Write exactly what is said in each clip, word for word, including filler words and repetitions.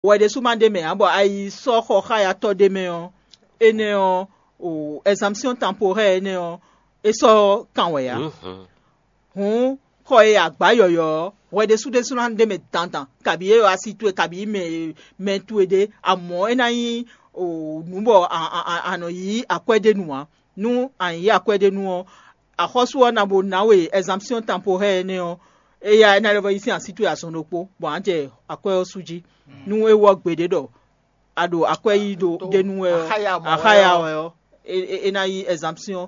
wɛ ɖésú ma ɖ'é mɛ ǎ, bɔ a yi sɔ́ xɔ xáyatɔ́ ɖ'é mɛ ɔ́, énɛ́ ɔ́, o ɛzanpsyɔ́n tanporɛ́ɛ énɛ́ ɔ́, é sɔ́ kan wɛ ǎ. Hǔn xɔ e a gbǎ yɔ̌yɔ́ ɔ́, hwɛ ɖésú ɖésú ná ɖ'é mɛ dandan, kabǐ é wá sí towe, kabǐ mɛ mɛ towe ɖé, amɔ̌ é ná nyí nǔ bɔ a nɔ yí akwɛ́ ɖé nu ǎ. Nú a nyǐ akwɛ́ ɖé nu ɔ́, axɔ́sú ɔ́ ná bo ná we ɛzanpsyɔ́n tanporɛ́ɛ énɛ́ ɔ́, éyá é ná lɛ́ vɔ́ yí sín así towe azɔn ɖokpó, bɔ a nǎ jɛ akwɛ́ ɔ́ sú jí. Nú é wɔ gbeɖé ɖɔ a ɖo akwɛ́ yí ɖo ɖ'é nu wɛ ɔ́, axáya wɛ ɔ́, é ná yí ɛzanpsyɔ́n,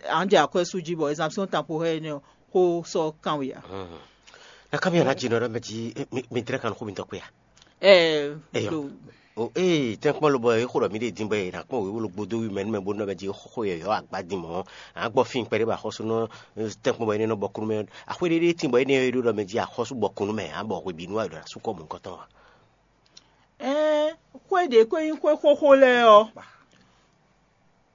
a nǎ jɛ akwɛ́ sú jí, bɔ ɛzanpsyɔ́n tanporɛ́ɛ énɛ́ ɔ́, xó sɔ́ kan we ǎ. Nakámi ɔ́ ná jɛ nɔ ɖɔ mɛ jí mi dlɛ́ kan nú xó mitɔn kpé a? Ɛɛ, Eyɔ. Ɖo O ee, tɛ́nkpɔ́n lobɔ e xo ɖɔ mǐ ɖe din bɔ è nǎ kpɔ́n wěwolo gbódó wí mɛ nú mɛ bó nɔ mɛ jí xó yɔ̌yɔ́ agba din mɔ̌, a gbɔ fín kpɛɖé bɔ axɔ́sú nɔ tɛ́nkpɔ́n bɔ énɛ́ nɔ bɔ kúnú mɛ. Axwé ɖé ɖé tín bɔ énɛ́ e ɖó ɖɔ mɛ jí axɔ́sú bɔ kúnú mɛ, a bɔ hwebǐnu wɛ è ɖɔ ná sú kɔ mǔ nukɔntɔn ǎ. Ɛɛ, xwé ɖě ko nyí xwé xóxó lɛ́ɛ ɔ́,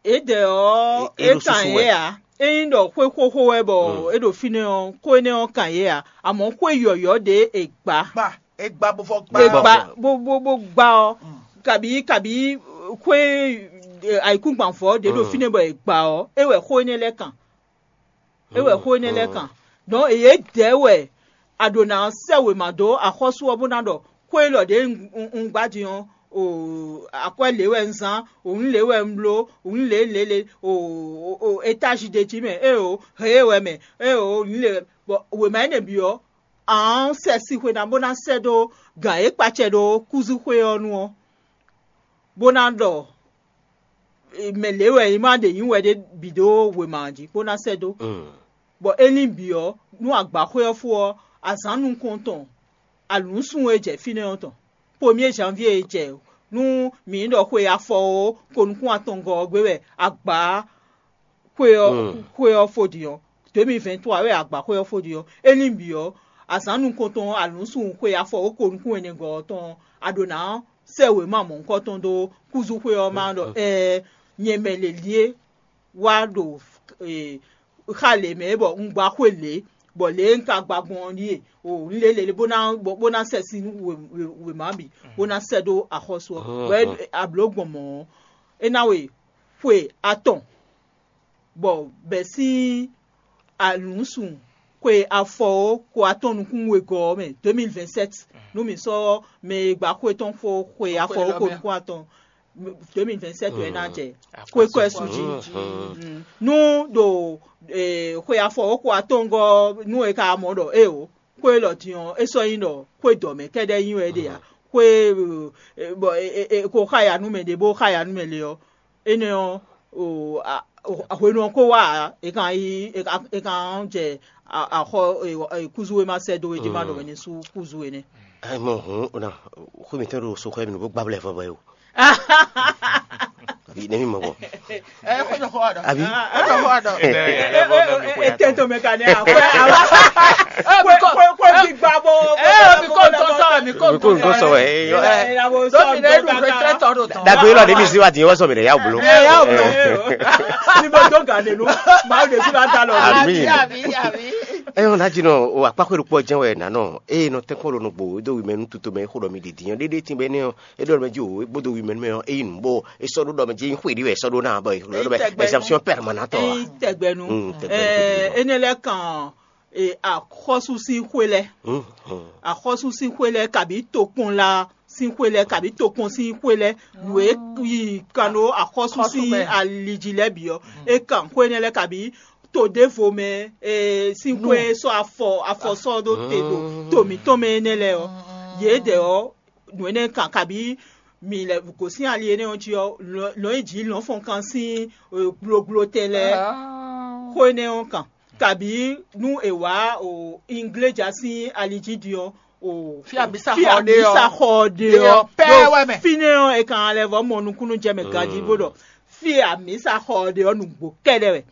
é dɛ ɔ́, É- é é ɖo kan susu yě wɛ. Ǎ. É nyí ɖɔ xwé xóxó wɛ bɔ Mm. É ɖo fínɛ́ ɔ́, xó énɛ́ ɔ́ kan yě ǎ. Amɔ̌ xwé yɔ̌yɔ́ ɖě è gbǎ. Gba, e gba bo vɔ gba. È Gbá. Gbá bó bó bó gbá ɔ́, kabǐ kabǐ xwé ayǐkúngban vɔ̌ ɖě ɖo Mm. Fínɛ́ bɔ è gbǎ ɔ́, é wɛ xó énɛ́ lɛ́ɛ kan. É wɛ xó énɛ́ lɛ́ɛ kan. Dɔn yě dɛ̌ wɛ a ɖǒ ná sɛ́ wěma dó axɔ́sú ɔ́ bó ná ɖɔ xó élɔ́ ɖě un un- un gbá din ɔ́, o akwɛ́ lě wɛ un zán, o nǔ lě wɛ un bló, o nǔ lě lě lě, o o- o étázi ɖé jí mɛ, é o hɛ é wɛ mɛ, é o nǔ lě wɛ. Bɔ wěma énɛ́ bǐ ɔ́, a nǎ sɛ sixwe ná bó ná sɛ́ dó gǎn e kpacɛ ɖó kúzúxwé ɔ́ nu ɔ́, bó ná ɖɔ mɛ lě wɛ è ma ɖe nyǐ wɛ ɖé bǐ dó wěma ɔ́ jí bó ná sɛ́ dó. Bɔ é lín bǐ ɔ́, nú agbǎxwé ɔ́ fó ɔ́, azǎn nukɔntɔn alǔnsun e jɛ fínɛ́ ɔ́ tɔn, pomyé janvier e jɛ nú mǐ ɖɔ xwe afɔ ó, ko nukún atɔngɔ́ ɔ́ gbé wɛ agbǎ xwe ɔ́ Mm. Xwe ɔ́ fó din ɔ́. deux mille vingt-trois wɛ agbǎxwé ɔ́ fó din ɔ́. É lín bǐ ɔ́, azǎn nukɔntɔn alǔnsun xwe afɔ ó ko nukún ɛnɛgɔ́ ɔ́ tɔn ɔ́, a ɖǒ ná sɛ́ wěma mɔ̌hunkɔtɔn dó kúzúxwé ɔ́ má ɖɔ ɛɛ nyɛ mɛ lě ɖíe wá ɖo eh, xa lě mɛ bɔ un gba xwé lě, bɔ lě e un ka gba gbɔn ɔ́ ɖíe o un lě lě bó ná bó ná sɛ sín wěma bǐ bó ná sɛ dó axɔ́sú ɔ́. Bɔ ablǒ gbɔn mɔ̌ ɔ́, é ná we xwe atɔn bɔ bɛ̌ sín alǔnsun xwe afɔ ó ko atɔ́n nukún wegɔ́ ɔ́ mɛ deux mille vingt-sept, nú mǐ sɔ́ mɛ e gba xwé tɔn fó xwe afɔ ó ko nukún atɔn, deux mille vingt-sept wɛ ná jɛ xwé kɔ́ ɛ su jí. Nú ɖo xwe afɔ ó ko atɔ́ngɔ́ nú è ka mɔ ɖɔ éeǒ, xwé élɔ́ din ɔ́, é sɔ́ nyí ɖɔ xwé dɔ̌ mɛ kɛ́ɖɛ́ nyí wɛ é ɖe ǎ. Xwé bɔ è ko xá ya nú mɛ ɖě bó xá ya nú mɛ lě ɔ́, énɛ́ ɔ́, hwenu ɔ́ ko wá ǎ, è kan yi è kan jɛ axɔ kúzú e ma sɛ́ dó é jí ma ɖɔ wɛ ní sú kúzú énɛ́. Mɔ hǔn ona xwé mǐtɔn ɖo soxɔ mi bó gbá blɛ́ vɔ bɔ é o. Abi ne mi mɔ bɔ. Abi. Etento mɛ ka ne a kwe a kwe kwe kwe gbigba bo. Ɛ mi ko ntɔn sɔ mi ko mi ko ntɔn sɔ wɛ. Dɔmi ne ɖu retraite ɔ ɖo tɔn. Dagbe yi lɔ de mi si wa di wɔ sɔ mi ɖe ya wolo. Ɛ ya wolo. Ni bɛ dɔn gan de nu. Maaw de su la da lɔ. Ami. Ɛyɔ na dzi nɔ o akpaxwe ɖokpɔ jɛn wɛ nanɔ eye nɔ tɛnkpɔn ɖo nugbo do wi mɛ nu tuto mɛ xo ɖɔ mi ɖiɖi nyɔ ɖeɖe tin bɛ ne ɔ e ɖɔ mɛ dzi o e kpodo wi mɛ nu mɛ ɔ e yi nu bɔ e sɔ ɖo ɖɔ mɛ dzi xwe ɖi wɛ sɔ ɖo na bɔ e ɖɔ mɛ exemption permanente wa. Tɛgbɛnu. Ɛɛ ene lɛ kan axɔsu sín xwe lɛ. Axɔsu sín xwe lɛ kabi tokpɔn la sín xwe lɛ kabi tokpɔn sín xwe lɛ nǔ e yi kan ɖo axɔsu sín aliji lɛ bǐ ɔ e kan xwe nɛ lɛ kabi to ɖěvo mɛ sín xwe sɔ́ afɔ afɔ sɔ́ ɖó te ɖo to mǐtɔn mɛ énɛ́ lɛ́ɛ ɔ́, yědɛɛ ɔ́ nǔ énɛ́ kan kabi mi lɛ gosín ali énɛ́ ɔ́ jí ɔ́, lɔ̌n yi jǐ lɔ̌n fɔn kan sín gblogblo tɛn lɛ́ɛ xó énɛ́ ɔ́ kan. Kabi nú è wǎ ingléja sín ali jí din ɔ́, fí amǐsa xɔ ɖe ɔ́, amǐsa xɔ ɖe ɔ́ pɛ́ wɛ mɛ. Fínɛ́ ɔ́ è kan lɛ vɔ mɔ nukúnnú jɛ mɛ ganjí bó ɖɔ fí e amǐsa xɔ ɖe ɔ́ nǔgbó kɛ́ɖɛ́ wɛ.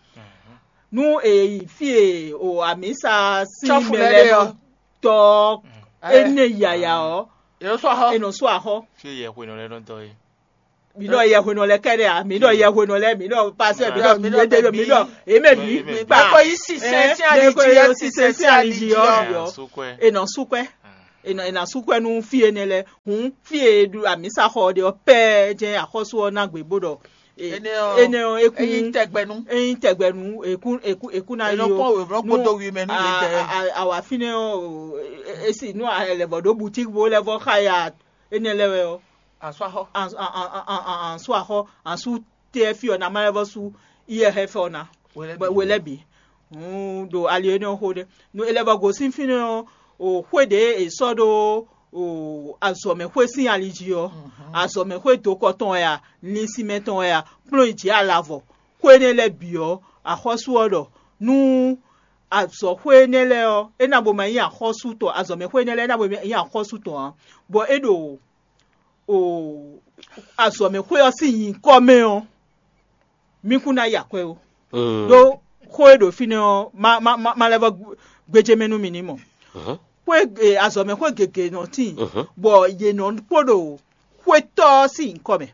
Nú è yi fí e o amǐsa sín mɛ lɛ́ɛ nɔ dɔ énɛ́ yaya ɔ́, è nɔ sú axɔ́. Fí e yɛhwenɔ lɛ́ɛ nɔ dɔ é. Mi ɖɔ yɛhwenɔ lɛ kɛɖɛ a? Mi ɖɔ yɛhwenɔ lɛ, mi ɖɔ pasɛ, mi ɖɔ mi ɖɔ mi ɖɔ eme mi kpa. Ko yi sisɛ sí ali jí ɔ, sisɛ sí ali jí ɔ, e nɔ sukpɛ. È nɔ- è nǎ sú kwɛ́ nú fí énɛ́ lɛ́ɛ. Hǔn fí e è ɖu amǐsaxɔ ɔ́ ɖe ɔ́ pɛ́ɛ jɛ́n axɔ́sú ɔ́ ná gbe bó ɖɔ, e- Énɛ́ ɔ́, énɛ́ ɔ́, é kún é nyí tɛgbɛnú. É nyí tɛgbɛnú, è kún è kún è kún ná È nɔ yi kpɔ́n wěwlɔ́ nú kpódó wi mɛ nú a- yětɛn. a- a- awǎ fínɛ́ ɔ́, o, e- e si nú a lɛ vɔ ɖó butík bó lɛ́ vɔ xá ya énɛ́ lɛ́ɛ wɛ ɔ́, Asú axɔ. Ansú axɔ, ansú tɛ́ fí ɔ́ ná má lɛ́ vɔ sú iyɛ́ xɛ fɛ ɔ́ ná. Hwe lɛ́ɛ bǐ. Hwe lɛ́ɛ bǐ. Hǔn ɖo ali énɛ́ ɔ́ xo ɖé. Nú é lɛ́ vɔ gosín fínɛ́ ɔ́, o xwé ɖě è sɔ́ ɖó o azɔ̌mɛxwé sín ali jí ɔ́, azɔ̌mɛxwé dokɔ tɔn wɛ a, linsinmɛ tɔn wɛ a, kplɔ́n yi jǐ alavɔ, xwé énɛ́ lɛ́ɛ bǐ ɔ́, axɔ́sú ɔ́ ɖɔ nú azɔ̌xwé énɛ́ lɛ́ɛ ɔ́, é ná bo ma nyí axɔ́sú tɔn, azɔ̌mɛxwé énɛ́ lɛ́ɛ é ná bo ma nyí axɔ́sú tɔn ǎ, bɔ é ɖo o azɔ̌mɛxwé ɔ́ sín nyǐkɔ mɛ ɔ́, mí kún ná yi akwɛ́ ó. Ɖó xó e ɖo fínɛ́ ɔ́, má má má má lɛ́ vɔ gbéjé mɛ nú mi ní mɔ. Xwé e azɔ̌mɛxwé gěgé nɔ tíin, bɔ yě nɔ kpó ɖo xwétɔ́ ɔ́ sín nyǐkɔ mɛ.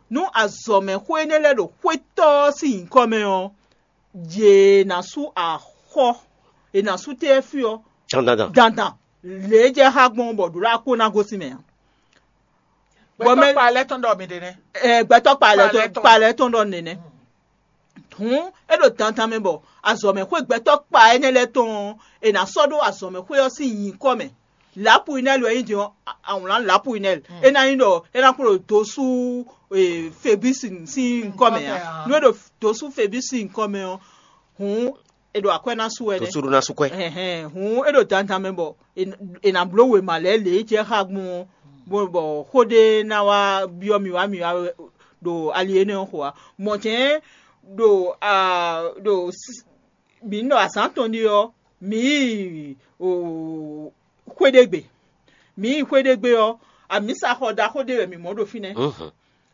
Nú azɔ̌mɛxwé énɛ́ lɛ́ɛ ɖo xwétɔ́ ɔ́ sín nyǐkɔ mɛ ɔ́, yě ná sú axɔ́, è nǎ sú tɛ́ fí ɔ́ Dandan. Dandan. Lě e jɛ xá gbɔn bɔ ɖǒɖá kó ná gosín mɛ ǎ. Bɔ mɛ- Gbɛtɔ́ kpa lɛ́ɛ tɔn ɖɔ mi ɖe nɛ́. Ɛ, gbɛtɔ́ kpa lɛ́ɛ tɔn kpa lɛ́ɛ tɔn ɖɔ nɛnɛ. Hǔn é ɖo dandan mɛ bɔ azɔ̌mɛxwé gbɛtɔ́ kpa énɛ́ lɛ́ɛ tɔn ɔ́, è nǎ sɔ́ ɖó azɔ̌mɛxwé ɔ́ sín nyǐkɔ mɛ. Lapuinɛli wɛ nyí din ɔ́, awlǎn Lapuinɛli. É ná nyí ɖɔ é ná kplɔ́n dosú Febísi sín nyǐkɔ mɛ ǎ. Nú é ɖo dosú Febísi sín nyǐkɔ mɛ ɔ́, hǔn è ɖo akwɛ́ ná sú wɛ nɛ́. Dosú ɖó ná sú kwɛ́. Ɛhɛn, hǔn é ɖo dandan mɛ bɔ è nǎ bló wěma lɛ́ɛ lě e jɛ xá gbɔn ɔ́, bɔ xó ɖé ná wá byɔ́ mì wá mì wá ɖo ali énɛ́ ɔ́ xo ǎ. Mɔ̌ jɛ́n ɖo ɖo mǐ ɖɔ azǎn tɔn ɖi ɔ́, mǐ yi xwé ɖé gbe. Mǐ yi xwé ɖé gbe ɔ́, amǐsaxɔ ɖaxó ɖé wɛ mǐ mɔ ɖo fínɛ́.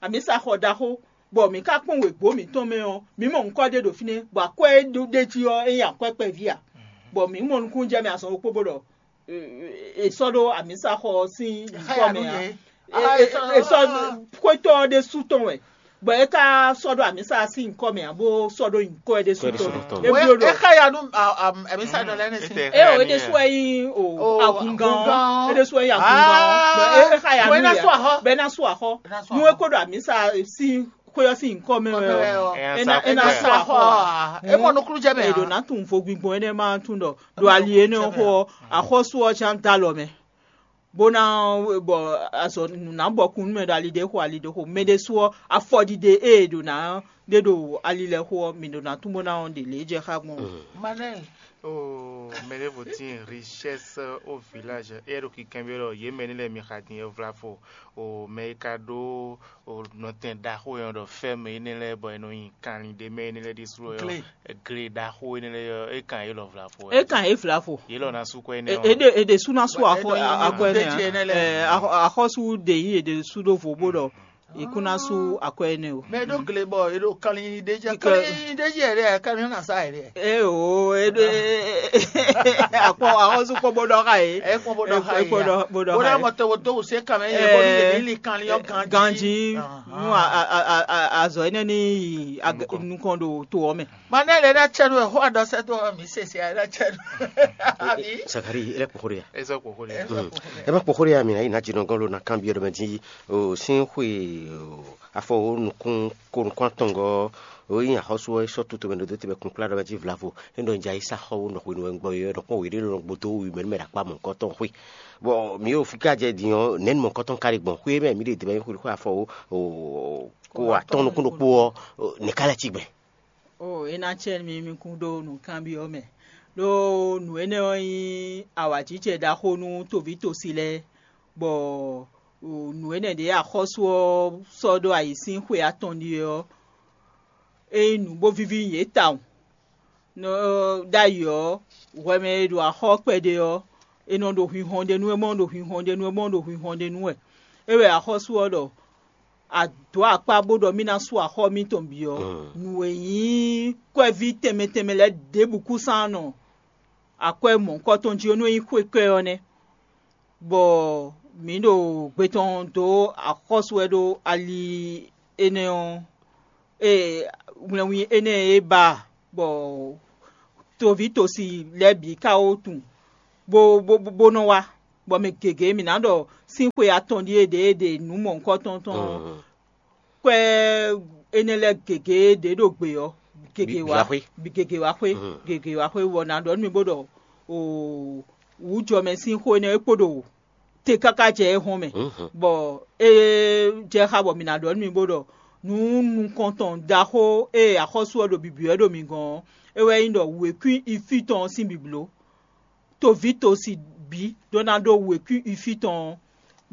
Amǐsaxɔ ɖaxó, bɔ mǐ ka kpɔ́n wěgbó mǐtɔn mɛ ɔ́, mǐ mɔ ŋkɔ́ ɖé ɖo fínɛ́, bɔ akwɛ́ e ɖo ɖ'é jí ɔ́, é nyí akwɛ́ kpɛví ǎ. Bɔ mǐ mɔ nukúnnú jɛ mɛ azɔn ɖokpó bó ɖɔ è sɔ́ ɖó amǐsaxɔ ɔ́ sín nyǐkɔ mɛ ǎ. È sɔ́ xwétɔ́ ɔ́ ɖésú tɔn wɛ, bɔ é ka sɔ́ ɖó amǐsa sín nyǐkɔ mɛ ǎ, bó sɔ́ ɖó nyǐkɔ ɛ ɖésú tɔn mɛ. É bló ɖɔ é xa ya nú amísánɔ lɛ́ɛ nɛ́ sín. É o é ɖésú wɛ nyí o agungán ɔ́. É ɖésú wɛ nyí agungán ɔ́. É xa ya nú yɛ bɛ́ ná sú axɔ́. Nú é kó ɖo amǐsa sín xwé ɔ́ sín nyǐkɔ mɛ wɛ ɔ́, é ná é ná sú axɔ́. É mɔ nukúnnú jɛ mɛ. È ɖǒ ná tunwun vo gbingbɔn énɛ́ ma tún ɖɔ ɖo ali énɛ́ ɔ́ xó ɔ́, axɔ́sú ɔ́ cí dó alɔ mɛ. Bó ná bɔ azɔ nǔ ná bɔ kún nú mɛ ɖo ali ɖé xo ali ɖé xo. Mɛ ɖésú ɔ́, afɔɖiɖe e è ɖǒ ná ɖe ɖo ali lɛ́ɛ xo ɔ́, mǐ ɖǒ ná tún bó ná ɔ́ ɖě lě jɛ xá gbɔn. Manel. Oh, mɛ ɖěvo tíin richesse au village. É ɖo kinkɛn byɔ́ ɖɔ yě mɛ ní lɛ́ɛ mi xa din é vlavo. O mɛ e ka ɖó o nɔtɛn ɖaxó e nɔ ɖɔ fɛ́ mɛ énɛ́ lɛ́ɛ bɔ è nɔ nyi kanlin ɖé mɛ énɛ́ lɛ́ɛ ɖésú ɔ́. Gle ɖaxó énɛ́ lɛ́ɛ ɔ́, é kan yě lɔ vlavo wɛ. É kan yě vlavo. Yě lɔ ná sú kɔ énɛ́ ɔ́. Èdè èdè sú ná sú akɔ akɔ énɛ́ ǎ. Axɔ́sú ɖe yí èdè sú ɖó vo bó ɖɔ è kún ná sú akɔ énɛ́ o. Mɛ ɖó gle bɔ è ɖo kanlin ɖé jɛ kanlin ɖé jɛ ɖé kanlin ná sa ɖé. É o é ɖó akpɔ axɔ́sú kpɔ bó ɖɔ xa yé. Ɛ kpɔ bó ɖɔ xa yé. Bó ɖɔ bó ɖɔ xa yé. Bó ɖɔ mɔ tɔwɔ tó wò sé kanlin yɛ bɔ ní yɛ ní li kanlin ɔ́ ganjí. Ganjí nú azɔ énɛ́ ní yi nukɔn ɖo to ɔ́ mɛ. Manɛ lɛ na tsɛ nu xɔ adɔ sɛ to mi se se na tsɛ nu. Abi. Sakari ele kpokori ya. Eza kpokori ya. Ema kpokori ya mi na yi na jinɔ gɔn lo na kan bi yɔrɔ mɛ ji o sin xwe afɔ o nukun ko nukun atɔngɔ o yin axɔsu ɔ sɔ tutu mɛ do tebe kun kpla dɔ mɛ ji vlavo. Endo nja yi sa xɔ wo nɔ xwe nu wɛ gbɔ yɔ nɔ kpɔ wele nɔ gbodo wi mɛ mɛ ɖakpa mɔ kɔtɔn xwe. Bɔn mi yo fika jɛ din ɔ nɛnu mɔ kɔtɔn kari gbɔn xwe mɛ mi de debe xwe xwe afɔ o ko atɔn nukun ɖokpo ɔ ne ka lɛ ci gbɛ. O é ná cɛ mi mi kún ɖó nǔkanbyɔ́ mɛ. Ɖó nǔ énɛ́ ɔ́ nyí awǎjijɛ ɖaxó nú toví tosi lɛ́ɛ, bɔ nǔ énɛ́ ɖě axɔ́sú ɔ́ sɔ́ ɖó ayǐ sín xwe atɔn ɖíe ɔ́, é nyí nǔ bó víví nyi yě tawun. Nɔ ɖ'ayǐ ɔ́, hwɛ mɛ e ɖo axɔ́ kpɛɖé ɔ́, è nɔ ɖo hwinhɔn ɖe nú é mɔ ɖo hwinhɔn ɖe nú é mɔ ɖo hwinhɔn ɖe nú wɛ. É wɛ axɔ́sú ɔ́ ɖɔ a dǒ akpá bó ɖɔ mì ná sú axɔ́ mitɔn bǐ ɔ́, nǔ e nyí kwɛ́ví tɛnmɛ tɛnmɛ lɛ́ɛ ɖěbǔ kúsán nɔ akwɛ́ mɔ̌hunkɔtɔn jí ɔ́ nú é nyí xwé kɔ́ ɛ ɔ́ nɛ́. Bɔ mǐ ɖo gbe tɔn dó axɔ́sú wɛ ɖó ali énɛ́ ɔ́, e wlɛnwin énɛ́ e ba bɔ toví tosi lɛ́ɛ bǐ ka wó tunwun bó bó bó nɔ wá. Bɔ mɛ gěgé mǐ ná ɖɔ sín xwe atɔn ɖíe ɖě e ɖe nǔ mɔ̌hunkɔtɔn tɔn ɔ́, kwɛ́ énɛ́ lɛ́ɛ gěgé ɖě ɖo gbe ɔ́, gěgé wá gěgé wá xwé gěgé wá xwé bɔ ná ɖɔ nú mì bó ɖɔ wǔjɔmɛ sín xó énɛ́ é kpo ɖo te káká jɛ é hɔn mɛ, bɔ é jɛ xá bɔ mǐ ná ɖɔ nú mì bó ɖɔ nǔ nukɔntɔn ɖaxó e axɔ́sú ɔ́ ɖo bǐbí wɛ ɖo mi gɔ́n ɔ́, é wɛ nyí ɖɔ wěkwín ifí tɔn ɔ́ sín bǐbló. Toví tosi bǐ ɖó ná ɖó wěkwín ifí tɔn ɔ́,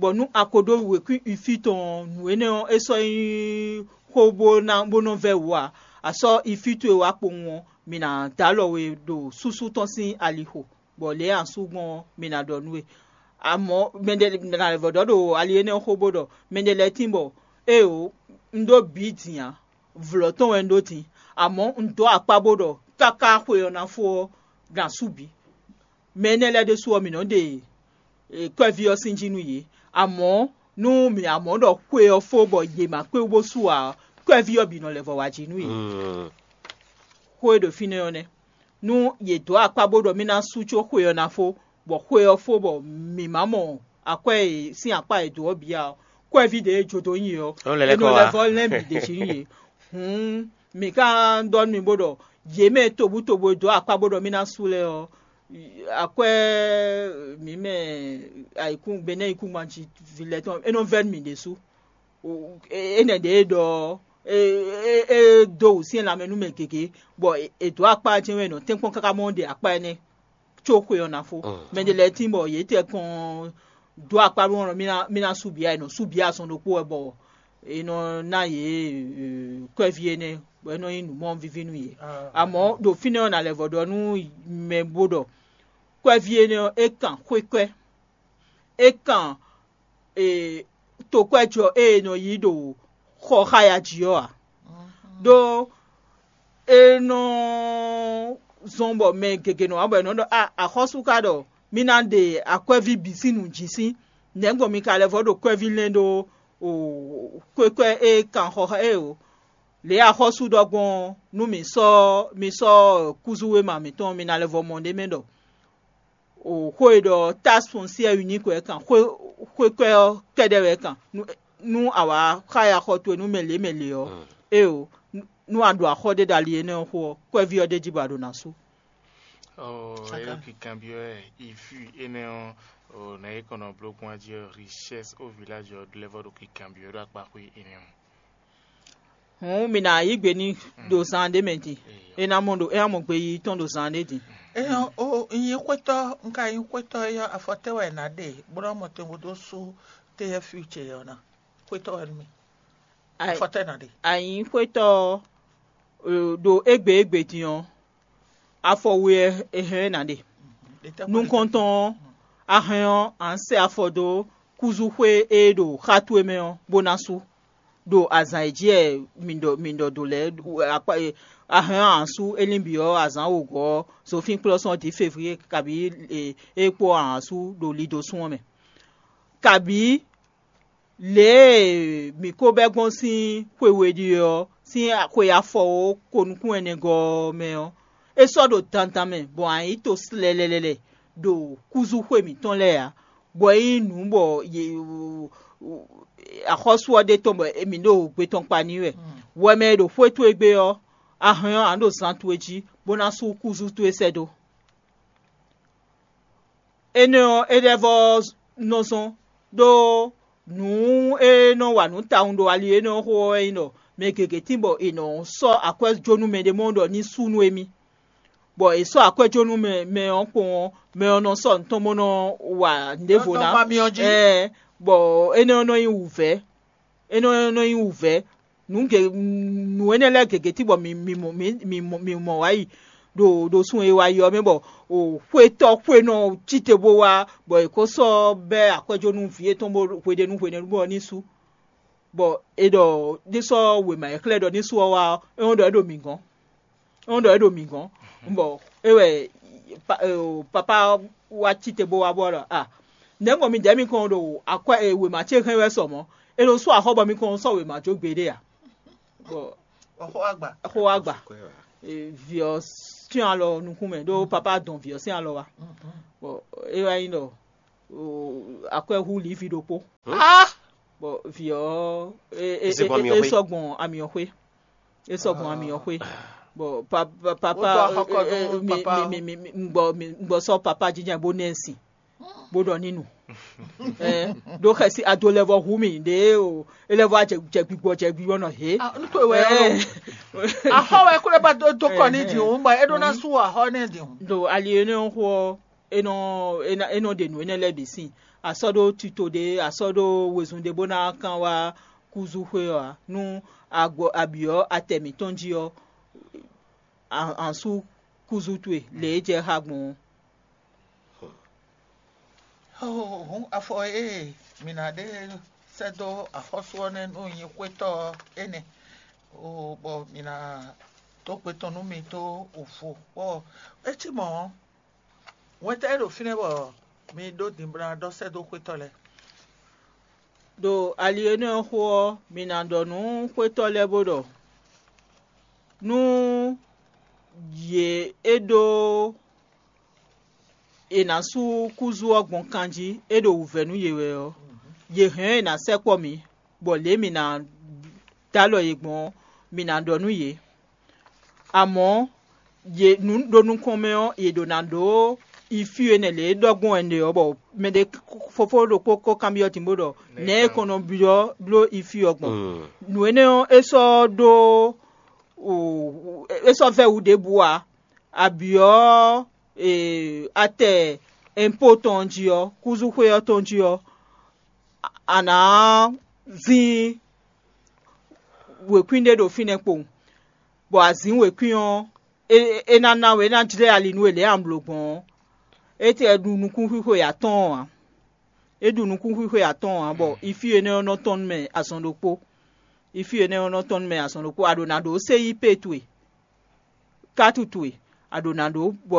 bɔ nú a ko ɖó wěkwín ifí tɔn ɔ́, nǔ énɛ́ ɔ́, é sɔ́ nyí xó bó ná bó nɔ́ vɛ́ wǔ ǎ. A sɔ́ ifí towe wá kpowun ɔ́, mǐ ná dó alɔ we ɖo súsú tɔn sín alixo, bɔ lě e a sú gbɔn ɔ́, mǐ ná ɖɔ nú we. Amɔ̌ mɛɖé ná lɛ́ vɔ̌ ɖɔ ɖo ali énɛ́ ɔ́ xó bó ɖɔ mɛɖé lɛ́ɛ tín bɔ éeǒ, un ɖó bǐ din ǎ, vlɔ̌ tɔn wɛ un ɖó din, amɔ̌ un dǒ akpá bó ɖɔ káká xwe ɔ́ ná fó ɔ́, ná sú bǐ. Mɛ énɛ́ lɛ́ɛ ɖésú ɔ́, mǐ nɔ́ ɖe kɔ́ɛví ɔ́ sín jí nú yě. Amɔ̌, nú mǐ amɔ̌ ɖɔ xwe ɔ́ fó bɔ yě ma kpé wú bó sú ǎ ɔ́, kɔ́ɛví ɔ́ bǐ nɔ lɛ́ vɔ wá jí nú yě. Xó e ɖo fínɛ́ ɔ́ nɛ́. Nú yě dǒ akpá bó ɖɔ mì ná sú có xwe ɔ́ ná fó, bɔ xwe ɔ́ fó bɔ mǐ ma mɔ akwɛ́ e sín akpá e dǒ ɔ́ bǐ ǎ ɔ́, kɔ́ɛví ɖě e jó dó nyi ɔ́, é nɔ lɛ́ vɔ lɛ́n bǐ ɖě jí nú yě. Hǔn mǐ ka ɖɔ nú mi bó ɖɔ yě mɛ tobutobu e dǒ akpá bó ɖɔ mì ná sú lɛ́ɛ ɔ́, akwɛ́ mǐ mɛ ayǐkún Benɛ́ yíkúngban jí ví lɛ́ɛ tɔn é nɔ vɛ́ nú mì ɖésú. Énɛ́ ɖě e ɖɔ ɔ́, é dó wǔsyɛ́n lanmɛ nú mɛ gěgé, bɔ è dǒ akpá ɔ́ jɛ́n wɛ è nɔ tɛ́nkpɔ́n káká mɔ ɖe akpá énɛ́ có xwe ɔ́ ná fó. Mɛ ɖé lɛ́ɛ tín bɔ yě tɛkɔn dó akpá nú ɔ́, mì ná sú bǐ ǎ, è nɔ sú bǐ azɔn ɖokpó wɛ bɔ è nɔ ná yě kɔ́ɛví énɛ́, bɔ é nɔ nyí nǔ mɔ víví nú yě. Amɔ̌ ɖo fínɛ́ ɔ́, nǎ lɛ́ vɔ ɖɔ nú mɛ bó ɖɔ kɔ́ɛví énɛ́ ɔ́, é kan xwékɔ́ɛ, é kan tokpɛ́jɔ e è nɔ yí ɖo xɔ xáya jí ɔ́ ǎ. Ɖó é nɔ zɔ́n bɔ mɛ gěgé nɔ wá bɔ è nɔ ɖɔ a axɔ́sú ka ɖɔ mì ná ɖe akwɛ́ví bǐ sín nǔ jí sín, nɛ̌gbɔn mi ka lɛ́ vɔ ɖo kwɛ́ví lɛ́n ɖó kwékwɛ́ e kan xɔ xá e o. Lě e axɔ́sú ɖɔ gbɔn ɔ́, nú mi sɔ́ mi sɔ́ kúzú wéma mǐtɔn mi ná lɛ́ vɔ mɔ ɖ'é mɛ ɖɔ xó e ɖɔ taxe foncière unique wɛ kan, xwékwɛ́ ɔ́ kɛ́ɖɛ́ wɛ kan. Nú a wǎ xá ya xɔ towe nú mɛ lě mɛ lě ɔ́, éeǒ, nú a ɖo axɔ́ ɖé ɖo ali énɛ́ ɔ́ xo ɔ́, kwɛ́ví ɔ́ ɖ'é jí bɔ a ɖo ná sú. Ɔ é ɖo kikanbyɔ́ wɛ ifi énɛ́ ɔ́, nǎ é kɔn nɔ bló gbɔn jí ɔ́, richesse ó village ɔ́ lɛ́ vɔ ɖo kikanbyɔ́ ɖo akpaxwé énɛ́ ɔ́. Hǔn mǐ ná yí gbe n'i ɖo zan ɖé mɛ din; é ná mɔ ɖo é ná mɔ gbeyiyi tɔn ɖo zan ɖé din. Éyɔ́ ó un nyí xwétɔ́ un ka nyí xwétɔ́ éyɔ́, afɔtɛ́ wɛ è nǎ ɖe bó ná mɔ tɛngo dó sú téyɛ́ future ɔ́ ná? Xwétɔ́ wɛ nú mì. Afɔtɛ́ ná ɖe. A nyǐ xwétɔ́ ɔ́, ɖo égbé égbé din ɔ́, afɔ we wɛ è hɛn ɔ́ è nǎ ɖe. Nukɔntɔn ɔ́, a hɛn ɔ́, a nǎ sɛ afɔ dó kúzúxwé e ɖo xá towe mɛ ɔ́, bó ná sú. Ɖo azǎn e jí wɛ mǐ ɖɔ mǐ ɖɔ do lɛ́ɛ, a hɛn ɔ́, a nǎ sú é lín bǐ ɔ́, azǎn wǒgɔ́ ɔ́, zofínkplɔ́sɔ́ dǐ février kabǐ é kpó a nǎ sú ɖo lidosún ɔ́ mɛ. Kabǐ lě e mǐ ko bɛ́ gbɔn sín xwe we ɖíe ɔ́, sín xwe afɔwǒ ko nukún ɛnɛgɔ́ ɔ́ mɛ ɔ́, é sɔ́ ɖo dandan mɛ bɔ a nyǐ to slɛlɛlɛlɛ ɖo kúzúxwe mǐtɔn lɛ́ɛ ǎ, bɔ é nyí nǔ bɔ axɔ́sú ɔ́ ɖe tɔn bɔ mǐ ɖo gbe tɔn kpa n'i wɛ. Wɛ mɛ e ɖo xwé towe gbe ɔ́, a hɛn ɔ́, a nǎ ɖo zan towe jí, bó ná sú kúzú towe sɛ́ dó. Énɛ́ ɔ́, é lɛ́ vɔ́ nɔ zɔ́n, ɖó nǔ e nɔ wa nǔ tawun ɖo ali énɛ́ ɔ́ xo ɔ́ wɛ nyí ɖɔ mɛ gěgé tín bɔ è nɔ sɔ́ akwɛ́ jó nú mɛɖé mɔ ɖɔ ní sú nú émí, bɔ è sɔ́ akwɛ́ jó nú mɛ mɛ ɔ́ kpowun ɔ́, mɛ ɔ́ nɔ sɔ́ nǔ tɔn bó nɔ wa nǔɖévo ná. Ɛɛ, bɔ énɛ́ ɔ́ nɔ nyí wǔvɛ́, énɛ́ ɔ́ nɔ nyí wǔvɛ́. Nǔ ge nǔ énɛ́ lɛ́ɛ gěgé cí bɔ mǐ mǐ mɔ mǐ mǐ mɔ mǐ mɔ wá yi ɖo ɖo sun e wá yi ɔ́ mɛ bɔ xwetɔ́ xwenɔ cí te bó wá bɔ è ko sɔ́ bɛ́ akwɛ́jó nú vǐ yětɔn bó hweɖénu hweɖénu bɔ ní sú. Bɔ è ɖɔ ní sɔ́ wěma e xlɛ́ ɖɔ ní sú ɔ́ wá ɔ́, é nɔ ɖɔ é ɖo mǐ gɔ́n. É nɔ ɖɔ é ɖo mǐ gɔ́n. Bɔ é wɛ papá wá cí te bó wá bɔ ɖɔ a nɛ̌ gbɔn mi dɛ̌ mi kɔn ɖo akwɛ́ wěma ce hɛn wɛ sɔ mɔ̌? È nɔ sú axɔ́ bɔ mi kɔn sɔ́ wěma jó gbeɖé a? Bɔ xó wá gba. Xó wá gba. Vǐ ɔ́ sín alɔ nukún mɛ ɖó papá dɔn vǐ ɔ́ sín alɔ wá. Bɔ é wá nyí ɖɔ akwɛ́ hú lǐvi ɖokpó. Ah! Bɔ vǐ ɔ́, é- é- Zé gbɔn é- é amyɔxwé. Sɔ́ gbɔn amyɔxwé. É sɔ́ gbɔn amyɔxwé. Bɔ pa- pa- papa Wotɔ axɔkɔ eh, eh, nú mi- papa. Mi- mi- mi- mi- un gbɔ mi- un gbɔ sɔ́ papa jínjɛ́n bó nɛ́ sin, bó ɖɔ ní nu. Eh, ɖó xɛsi ado lɛ́ vɔ hu mì ɖě o, é lɛ́ vɔ jɛ jɛ gbigbɔ jɛ gbigbɔ nɔ he. Ah, nu to wɛ Eh, axɔ wɛ kó lɛ ba dó dó kɔ ní dǐhun bɔ é ɖó ná sú axɔ ní dǐhun. Ɖo ali énɛ́ ɔ́ xó ɔ́, é nɔ é ná- é nɔ ɖe nǔ énɛ́ lɛ́ɛ bǐ sín. A sɔ́ ɖó tito ɖé, a sɔ́ ɖó wezun ɖé bó ná kán wá kúzúxwé ɔ́ ǎ. Nú a gbɔ a byɔ̌ atɛ mǐtɔn jí ɔ́, a- a sú kúzú towe lě e jɛ xá gbɔn ɔ́. Hǔn afɔ e mǐ ná ɖe sɛ́ dó axɔ́sú ɔ́ nɛ́ nú nyí xwétɔ́ ɔ́ énɛ́, bɔ mǐ ná dó gbe tɔn nú mi dó wǔvo. Bɔ é cí mɔ̌ ɔ́, wɛntɛ́ e ɖo fínɛ́ bɔ mi ɖó din bó ná ɖɔ sɛ́ dó xwétɔ́ lɛ́ɛ. Ɖo ali énɛ́ ɔ́ xó ɔ́, mi ná ɖɔ nú xwétɔ́ lɛ́ɛ bó ɖɔ: Nú yě é ɖó è nǎ sú kúzú ɔ́ gbɔn kan jí, é ɖo wǔvɛ́ nú yě wɛ ɔ́, yě hɛn ɔ́ è nǎ sɛkpɔ́ mǐ, bɔ lě e mǐ ná dó alɔ yě gbɔn ɔ́, mǐ ná ɖɔ nú yě. Amɔ̌, yě nǔ ɖo nukɔn mɛ ɔ́, yě ɖǒ ná ɖó yi fí e nɛ̌ lě e ɖɔ gbɔn wɛ un ɖe ɔ́, bɔ mɛɖé fofó ɖokpó ko kanbyɔ́ din bó ɖɔ: Nɛ̌ è kɔn nɔ byɔ́ bló yi fí ɔ́ gbɔn? Nǔ énɛ́ ɔ́, é sɔ́ ɖó é sɔ́ vɛ́ wǔ ɖěbǔ ǎ. A byɔ̌ atɛ ɛnpó tɔn jí ɔ́, kúzúxwé ɔ́ tɔn jí ɔ́, a nǎ zín wěkwín ɖé ɖo fínɛ́ kpowun, bɔ azǐn wěkwín ɔ́, é ná ná we, é ná jlɛ́ ali nú we lě e a blǒ gbɔn ɔ́, é tɛ ɖu nukúnxwixwe atɔ́ɔ́n ǎ. É ɖu nukúnxwixwe atɔ́ɔ́n ǎ, bɔ ifí énɛ́ ɔ́ nɔ tɔ́n nú mɛ azɔn ɖokpó. Ifí énɛ́ ɔ́ nɔ tɔ́n nú mɛ azɔn ɖokpó. A ɖǒ ná ɖó séyípe towe, kátu towe, a ɖǒ ná ɖó, bɔ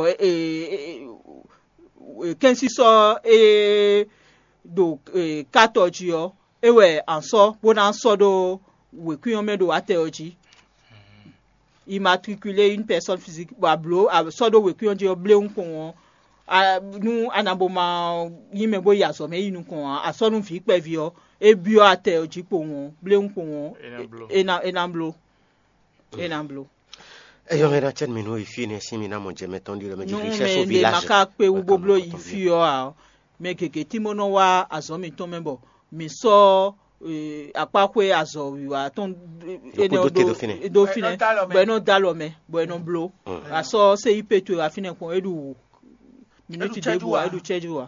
kɛ́nsísɔ́ e ɖo kátɔ jí ɔ́, é wɛ a sɔ́ bó ná sɔ́ ɖó wěkwín ɔ́ mɛ ɖo atɛ ɔ́ jí. Immatriculer une personne physique, bɔ a blǒ a sɔ́ ɖó wěkwín ɔ́ jí ɔ́, bléwún kpowun ɔ́, nú a nǎ bo ma nyí mɛ bó yi azɔ̌ mɛ yi nukɔn ǎ, a sɔ́ nú vǐ kpɛví ɔ́, é byɔ́ atɛ ɔ́ jí kpowun ɔ́, bléwún kpowun ɔ́, é ná bló. É ná bló. É ná bló. Eyɔ́ hɛn ná cɛ́ nú mì nú yi fí nɛ́ sín mi ná mɔ jɛ mɛ tɔn ɖi lɔ mɛ jí Nú mɛ ɖě ma ka kpé wú bó bló yi fí ɔ́ ǎ, mɛ gěgé tí mɔ nɔ wá azɔ̌ mǐtɔn mɛ bɔ mǐ sɔ́ akpáxwé azɔ̌ wiwa tɔn énɛ́ ɔ́ ɖó fínɛ́, bɔ é nɔ dó alɔ mɛ, bɔ é nɔ bló. A sɔ́ séyípe towe wá fínɛ́ kpɔ́n, é ɖu minúti ɖěbǔ ǎ, é ɖu cɛ́jú ǎ.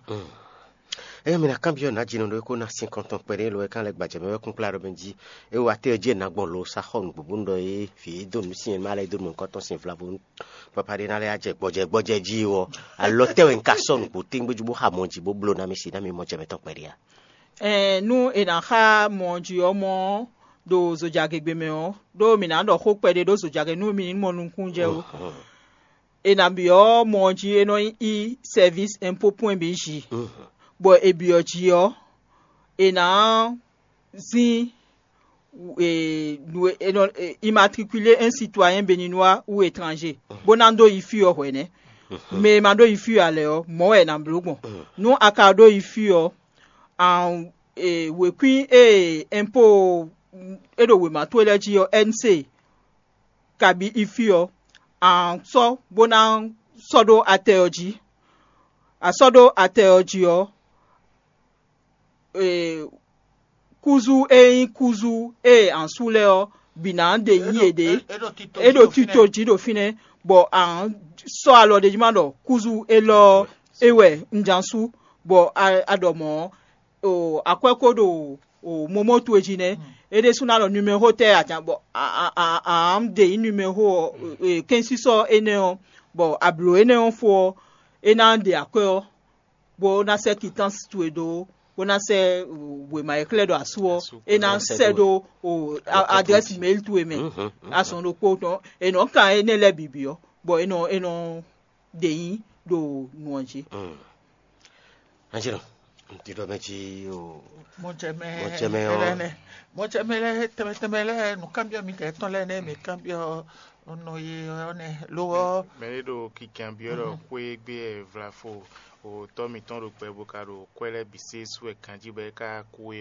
Eye mi ná kanbyɔ́ nǎjínɔ ɖó é kó ná sin kɔntɔn kpɛɖé lo é kán lɛ́ gbajɛ mɛ wɛ kún kplá ɖɔ mɛ jí é wá tɛ́ jí è nǎ gbɔn lo sá xɔ nǔgbó bónú ɖɔ é vǐ e dó nǔ sin e má lɛ́ dó nǔ nukɔntɔn sin vlavo papa ɖé ná lɛ́ jɛ gbɔjɛ gbɔjɛ jí ɔ́, alɔ tɛ́ wɛ un ka sɔ́ nǔgbó téŋgbéjú bó xa mɔ jí bó bló ná mi si ná mi mɔ jɛ mɛtɔn kpɛɖé a? Ɛɛ, nú è nǎ xa mɔ jí ɔ́, mɔ ɔ́ ɖo zojagegbe mɛ ɔ́, ɖó mǐ ná ɖɔ xó kpɛɖé ɖó zojagbe nú mi ní mɔ nukúnnú jɛ ó. È nǎ byɔ́ mɔ ɔ́ jí é nɔ nyí service impôt point B J, bɔ è byɔ́ jí ɔ́, è nǎ zín immatriculer un citoyen béninois ou étranger, bó ná dó yi fí ɔ́ hwɛ̌nɛ́. Mɛ e ma ɖó yi fí ɔ́ ǎ lɛ́ɛ ɔ́, mɔ̌ wɛ è nǎ bló gbɔn. Nú a ka ɖó yi fí ɔ́, wěkwín e impôt e ɖo wěma towe lɛ́ɛ jí ɔ́, N C, kabǐ ifí ɔ́, a sɔ́ bó ná sɔ́ ɖó atɛ ɔ́ jí. A sɔ́ ɖó atɛ ɔ́ jí ɔ́, kúzú e nyí kúzú e a sú lɛ́ɛ ɔ́ bǐ ná ɖe nyí yěɖée. É ɖo tito jí ɖo fínɛ́, bɔ a sɔ́ alɔ ɖ'é jí ma ɖɔ kúzú élɔ́ ɔ́, é wɛ un ján sú, bɔ a ɖɔ mɔ̌ ɔ́, akwɛ́ ko ɖo momó towe jí nɛ́. É ɖésú ná ɖɔ numéro tɛ́ a jǎn bɔ a ɖe nyí numéro ɔ́, kɛ́nsísɔ́ énɛ́ ɔ́, bɔ a blǒ énɛ́ ɔ́ fó ɔ́, é ná ɖe akwɛ́ ɔ́, bó ná sɛ́ kitánsi towe dó, bó ná sɛ́ wěma e xlɛ́ ɖɔ asú ɔ́, é ná sɛ́ ɖó adrɛ́si mail towe mɛ. Azɔn ɖokpó tɔn è nɔ kan énɛ́ lɛ́ɛ bǐ byɔ́, bɔ é nɔ é nɔ ɖe nyí ɖo nǔ ɔ́ jí. Anjino, un ti ɖɔ mɛ jí o. Mɔjɛmɛ Mɔjɛmɛ ɔ́. Lɛnɛ, mɔjɛmɛ lɛ tɛmɛ tɛmɛ lɛ nukánbyɔ́ mi tɛ tɔn lɛ nɛ mi kánbyɔ́ nɔ ye ɔ́ nɛ lo ɔ́. Mɛ ɖé ɖo kinkanbyɔ́ ɖɔ xwé gbé vlafo Tɔ́ mitɔn ɖo gbɛ bó ka ɖo kwɛ́ lɛ́ɛ bǐ sé sú wɛ ganjí bɔ é ka kú é